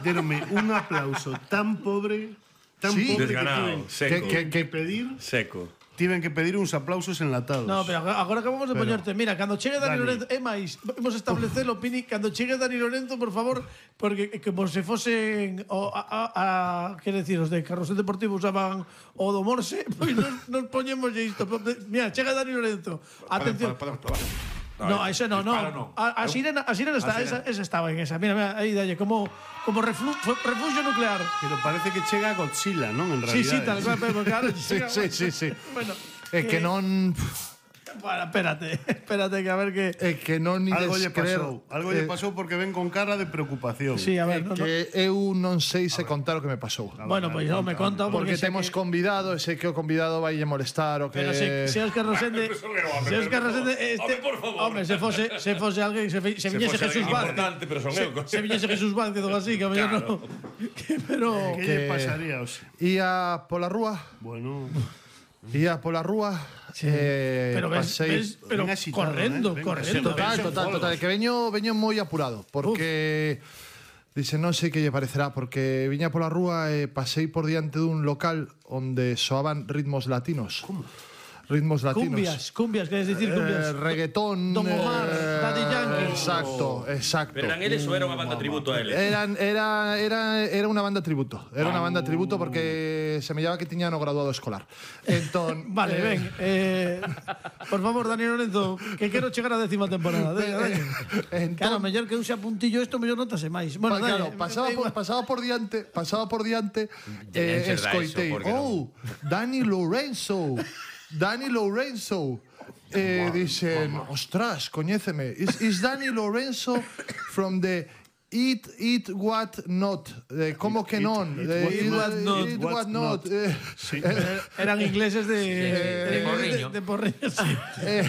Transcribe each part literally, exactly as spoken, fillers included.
Déronme un aplauso tan pobre, tan Sí, pobre desganado, que seco. tiven que, que, que pedir, Seco. tiven que pedir uns aplausos enlatados. No, pero agora agora acabamos de Pero- poñerte. Mira, cando chegue Dani, Dani. Lorenzo, é máis, imos establecelo, Pini, cando chegue Dani Lorenzo, por favor, porque que como se fosen o a, a, a quer decir, os de Carrusel Deportivo usaban o do Morse, pois nos, nos poñemos isto. Mira, chega Dani Lorenzo. Atención. Podemos probar. No, eso no, no. disparo no. A, a sirena, a sirena está, esa, esa estaba en esa. Mira, mira, aí dalle como como reflu, refugio nuclear. Pero parece que chega Godzilla, non? En Sí, sí, tal realidad. cual, pero claro, Sí, chega- sí, sí, sí. Bueno, É que non... Bueno, espérate, espérate que a ver que É que non Algo lle ides creer... pasou. Algo lle eh, pasou porque ven con cara de preocupación. Sí, a É ver, no, no. que eu non sei se contar o que me pasou. Bueno, pois non me conta Porque porque, sei temos que- convidado, e sei que o convidado vai lle molestar o que... Pero se, se Óscar Rosende, se Óscar Rosende este, Home, por favor. Hombre, se fose, se fose alguén, se, fe- se viñese fose Jesús alguén Vázquez. importante, pero son se, eu. se viñese Jesús Vázquez ou así, que a mellor Claro. no. Que, pero Que Que- lle pasaría, o sea? Ía pola rúa, Bueno, ía pola rúa, eh, pero ves, pasei... ves pero Venga agitado, correndo, eh, venga, correndo. Total, total, total, que veño, veño moi apurado, porque... Dice, non sei que lle parecerá, porque viña pola rúa e pasei por diante dun local onde soaban ritmos latinos. Como? Ritmos latinos. Cumbias, cumbias, queres dicir Eh, cumbias. reggaetón. Don Omar, eh, Daddy Yankee. Exacto, exacto. Pero eran eles ou era unha banda tributo a eles? Eran, era, era, era unha banda tributo. Era unha banda tributo porque se me llama que tiña no graduado escolar. Entón, Vale, eh, ven. Eh, por favor, Dani Lorenzo, que quero chegar á décima temporada. Venga, Dani. Entón- Claro, mellor que eu se apuntillo isto, mellor notase máis. Bueno, Pa- Dani, claro, pasaba por, pasaba por diante, pasaba por diante Ya eh, non será escoitei, eso, porque oh, Dani Lorenzo, Dani Lorenzo. Eh, dixen, ostras, coñéceme. Is, is Dani Lorenzo from the Eat, Eat What Not? Eh, como que non? eat Eh, what not, Eat what What Not. not. Eh, Sí. eran ingleses de, de Porriño. De, de Porriño, sí. eh,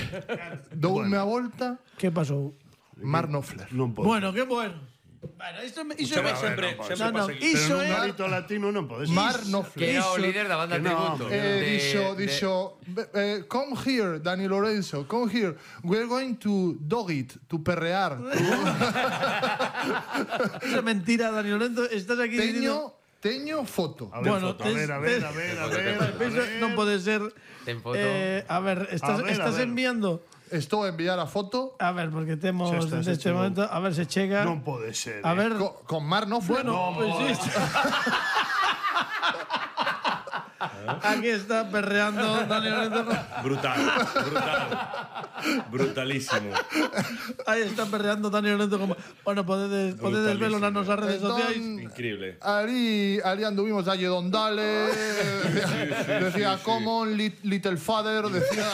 doume a volta, Que pasou? Mar Knopfler. non pode. Bueno, que bueno. Bueno, isto me iso Chama me sempre, no, sempre no, para seguir. Pero iso nun é garito latino non pode ser. Mar Que Knopfler. era o Iso- líder da banda que no, tributo. Eh, de- dixo, de- dixo, eh, come here, Dani Lorenzo, come here. We're going to dog it, to perrear. Esa mentira, Dani Lorenzo, estás aquí teño, teño foto. A ver, Bueno, foto, a ver, a ver, a ver, a ver. a Eso ver. non pode ser. Ten foto. Eh, a ver, estás, A ver, a estás ver. enviando. Estou a enviar a foto A ver, porque temos Xa está, desde se este chegou. momento, a ver se chega. Non pode ser. A eh. ver, co, con Mar Knopfler. bueno, pues sí. Aquí está perreando Dani Lorenzo. Brutal, brutal. Brutalísimo. Ahí está perreando Dani Lorenzo como, bueno, podedes podedes velo nas nosas redes Entón, sociais. Increíble. Ali, ali anduvimos dalle Don Dale, decía, decía come on, lit- little father, decía...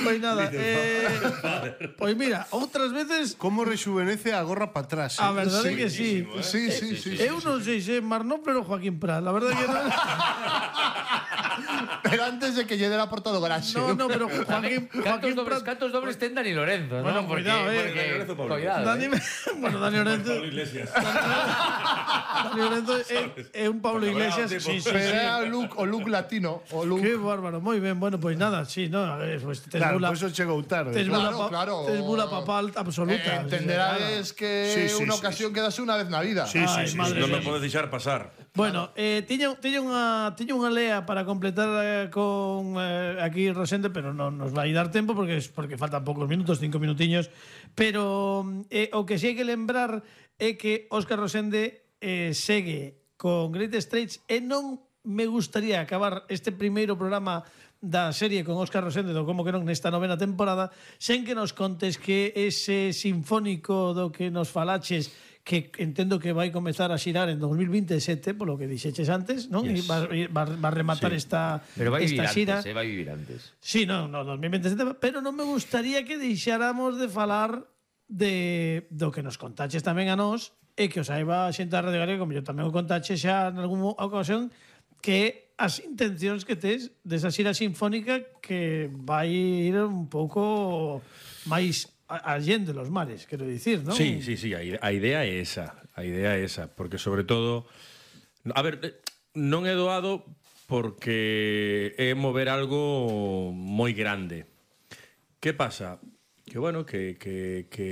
Pois nada, eh, pois mira, outras veces Como rexuvenece a gorra para atrás. a eh? verdade é que sí. Sí, sí, sí. sí, Eu non sei se Mar Knopfler ou Joaquín Prat, la verdade que non. Pero antes de que lle dé la porta do garaxe. No, no, pero Joaquín, Cantos Joaquín dobles, Prat. cantos dobles ten Dani Lorenzo, Bueno, ¿no? Porque, cuidado, eh. porque- Dani Lorenzo, Pablo. cuidado, Dani, eh. bueno, Dani Lorenzo. Pablo Iglesias. Dani Lorenzo é, é un Pablo Iglesias. tipo. Sí, sí, Pero sí. é o look, o look latino, o look... Qué bárbaro, moi ben. Bueno, pois nada, sí, no, a ver, pues tes Claro, bula, por eso chegou tarde. tes Claro, bula, pa, claro. tes bula papal absoluta. Eh, entenderades que Sí, sí, unha sí, ocasión que das unha vez na vida. Sí, sí, Ay, sí. madre sí. Non me mía. podes deixar pasar. Bueno, eh, tiña, tiña, unha, tiña unha lea para completar eh, con eh, aquí Rosende, pero non nos vai dar tempo porque porque faltan poucos minutos, cinco minutiños, pero eh, o que si hai que lembrar é que Óscar Rosende eh, segue con Great Straits e non me gustaría acabar este primeiro programa da serie con Óscar Rosende do Como que non nesta novena temporada sen que nos contes que ese sinfónico do que nos falaches que entendo que vai comezar a xirar en dos mil veintisiete polo que dixeches antes, non? Yes. E va, va, va a rematar Sí. esta Pero vai vivir esta xira. antes, eh, vai vivir antes. Sí, no, no, dos mil veintisiete, pero non me gustaría que deixáramos de falar de do que nos contaches tamén a nós e que os saiba a xente da Radio Galega, como eu tamén o contache xa en algún ocasión, que as intencións que tes desa xira sinfónica que vai ir un pouco máis allende los mares, quero dicir, non? Sí, sí, sí, a ide- a idea é esa, a idea é esa, porque sobre todo, a ver, eh, non é doado porque é mover algo moi grande. Que pasa? Que bueno, que, que, que